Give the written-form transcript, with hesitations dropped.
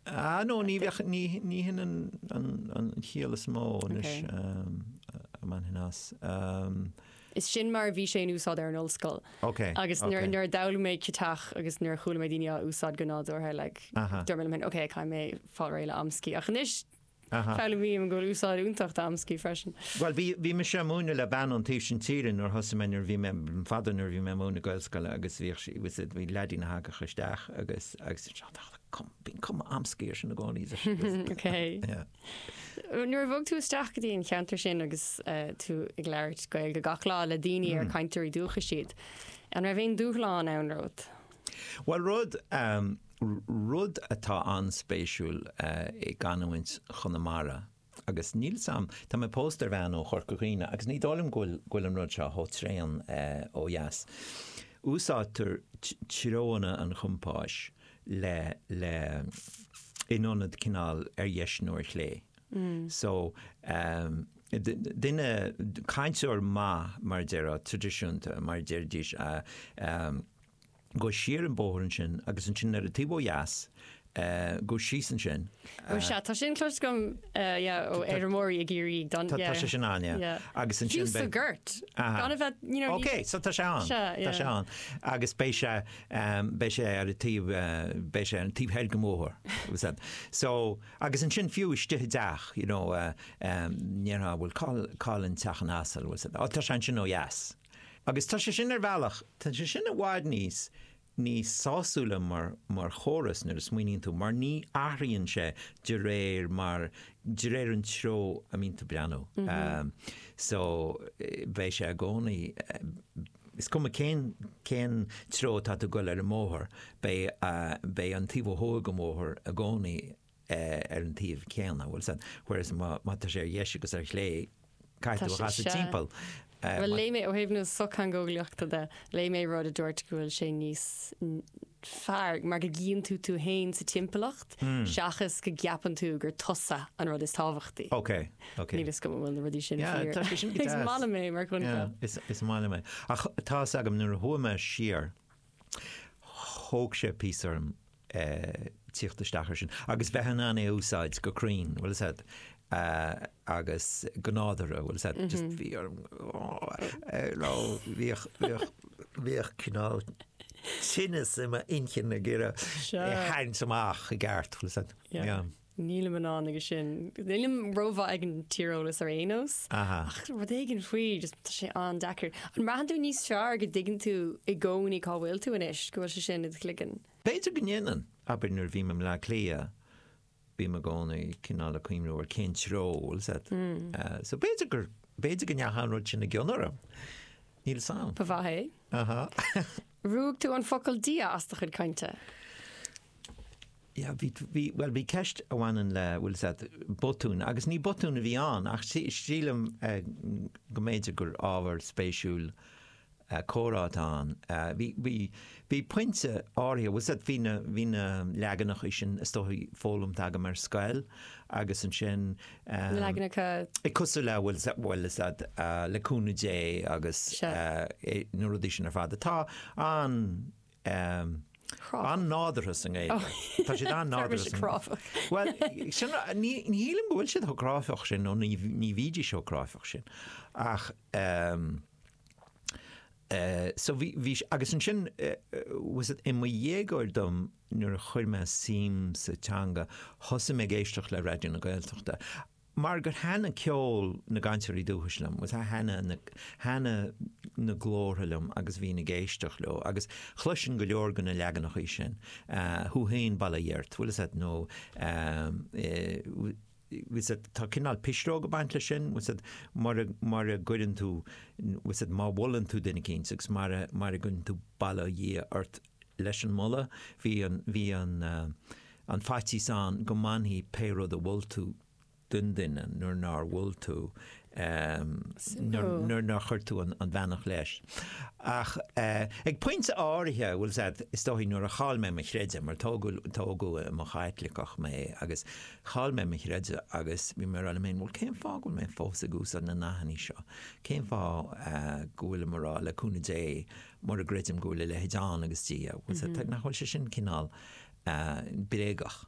Ah no, ní bheadh, ní, ní hin an, an, an chiall is mó anois a mbainfinn as. Is sin mar a bhí sé in úsáid ar an ollscoil. Ok, Agus ok. nuair, nuair a d'fhoghlaim mé ciotaich agus nuair a chuala mé daoine á úsáid go nádúrtha, like, Aha. dúirt mé liom féin, ok, caithfidh mé fáil réidh le amscaí. Ach anois, Aha. foghlaimím go bhfuil úsáid iontach d'amscaí freisin. Bhuel, bhí, bhí mise ag múineadh le bean ón taobh sin tíre nuair a thosaigh mé, nuair a bhí mé, fada nuair a bhí mé ag múineadh Gaelscoile agus bhíodh sí, bhí, bhí leaidín a thagadh isteach agus, agus bíonn cuma amscaí air sin i gcónaí. Ok. Yeah. Nuair a bhog tú isteach go dtí an cheantar sin agus tú ag labhairt Gaeilge gach lá le daoine ar cainteoirí dúchais iad, an raibh aon dúshlán ann romhat? Bhuel, rud, rud atá an-spéisiúil i gcanúint Chonamara, agus níl 's a'm, tá mé pósta ar bhean ó Chorca Dhuibhne agus ní dóigh liom go bhfuil, go bhfuil an rud seo chomh tréan ó dheas. Úsáidtear treonna an chompáis le, le, in ionad cineál ar dheis nó ar chlé. So, duine, cainteoir maith, mar a déarfá, traidisiúnta, mar a déarfaidís, Gabh siar an bóthar ansin agus ansin ar an taobh ó dheas, gabh síos ansin. Ó sea, tá sin cloiste agam yeah, ó fheirmeoirí i gCiarraí. Don, Tá sé sin ann, yeah. Yeah. Agus ansin Fiú sa Ghort. Gan a bheith, you know. Ok, so tá sé ann. Sea, yeah. Tá sé ann. Agus beidh sé, beidh sé ar an taobh, beidh sé ar an taobh thoir den bhóthar. Was that. So, agus ansin fiú istigh i dteach, you know, ndéarfá, bhuel, cá'il, cá'il an teach an asail, was that. Ó, tá sé ansin ó dheas. Agus tá sé sin ar bhealach, tá sé sin i bhfad níos, níos sásúla mar, mar chóras nuair a smaoiníonn tú, mar ní athraíonn sé de réir mar, de réir an treo a mbíonn tú ag breathnú. So, beidh sé i gcónaí, is cuma cén, cén treo atá tú ag goil ar an mbóthar, beidh, beidh an taobh ó thuaidh den bhóthar i gcónaí ar an taobh céanna, bhfuil 's a'd, whereas má tá sé ar dheis agus ar chlé, caithfidh tú a chasadh timpeall. Bhuel, léigh mé, ó thaobh na sochtheangeolaíochta de, léigh mé rud a dúirt go bhfuil sé níos fearr mar go gcíonn tú tú féin sa timpeallacht seachas go gceapann tú gur tusa an rud is tábhachtaí. Ok, ok. Níl 'fhios agam an bhfuil na rudaí sin Yeah, fíor. tá sé sin go Is deas. maith liom é mar choincheap. Yeah, is, is maith liom é. Ach tá 'fhios agam nuair a chuaigh mé siar, thóg sé píosa orm tíocht isteach air sin agus bheith in ann é a úsáid go cruinn, bhfuil 'fhios a'd, agus go nádúrtha, bhfuil 'fhios a'd, just bhí orm, nó bhíodh, bhíodh, bhíodh cineál tinneas i m'inchinn ag iarraidh é a tharraingt amach i gceart, bhfuil 'fhios a'd. Yeah. Nílim in ann aige sin. Nílim rómhaith ag an tíreolas ar aon nós. Ach rud éigin faoi, just tá sé an-deacair. An mbraitheann tú níos fearr go dtuigeann tú i gcónaí cá bhfuil tú anois, go bhfuil sé sin i do chloigeann? B'fhéidir go ndéanann. Abair nuair a bhím i mBleá Cliath, bím i gcónaí cineál ag cuimhniú ar cén treo, bhfuil 'fhios a'd. So b'fhéidir gur, b'fhéidir go ndeachaigh an rud sin i gcion orm. Níl 'fhios a'm. Ba mhaith é. Aha. Ruaig tú an focal Dia as do chuid cainte. Yeah, bhí, bhí, bhuel, bhí ceist a bhaineann le, bhfuil 'fhios a'd, botún, agus ní botún a bhí ann, ach sílim go mb'fhéidir gur ábhar spéisiúil comhrá atá ann. Bhí, bhí, bhí pointe áirithe, bhfuil 'fhios a'd, bhí na, bhí na leaganacha sin is dóigh foghlamtha agam ar scoil agus ansin. Na leaganacha. Cosúil le, bhfuil 'fhios a'd, bhfuil 'fhios a'd, le cúnamh Dé agus na rudaí sin ar fad atá an, an-nádúrtha sa nGaeilge. Tá siad an-nádúrtha sa Cráifeach. Bhuel, sin, ní, ní shílim go bhfuil siad chomh cráifeach sin, nó ní, ní bhídís chomh cráifeach sin. Ach, so bhí, bhí, agus ansin, bhfuil 'fhios a'd, i mo dhéagóir dom, nuair a chuir mé suim sa teanga, thosaigh mé ag éisteacht le Raidió na Gaeltachta. Mar gur thaitnigh ceol na gcainteoirí dúchais liom, bhfuil 'fhios a'd, thaitnigh na, thaitnigh na glórtha liom agus bhínn ag éisteacht leo agus chloisinn go leor de na leaganachaí sin, thú féin bail ó Dhia ort, bhfuil 'fhios a'd, nó bhfuil 'fhios a'd, tá cineál pisreog ag baint leis sin, bhfuil 'fhios a'd, mura, mura gcuireann tú, bhfuil 'fhios a'd, má mholann tú duine eicínt agus mura, mura gcuireann tú bail ó Dhia ort leis an moladh, bhí an, bhí an, an faitíos ann go mbainfí pé rud a mhol tú den duine nuair nár mhol tú, nuair nár chuir tú an bheannacht leis. Ach ag pointe áirithe, bhfuil 'fhios a'd, is dóigh nuair a chaill mé mo chreideamh, mar tógadh, tógadh i mo Chaitliceach mé agus chaill mé mo chreideamh agus bhí mé ag rá liom féin, bhuel cén fáth go bhfuil mé fós ag úsáid na nathanna seo? Cén fáth go bhfuilim ag rá le cúnamh Dé mura gcreidim go bhfuil a leithéid ann agus Dia? Bhfuil 'fhios a'd, nach bhfuil sé sin cineál bréagach.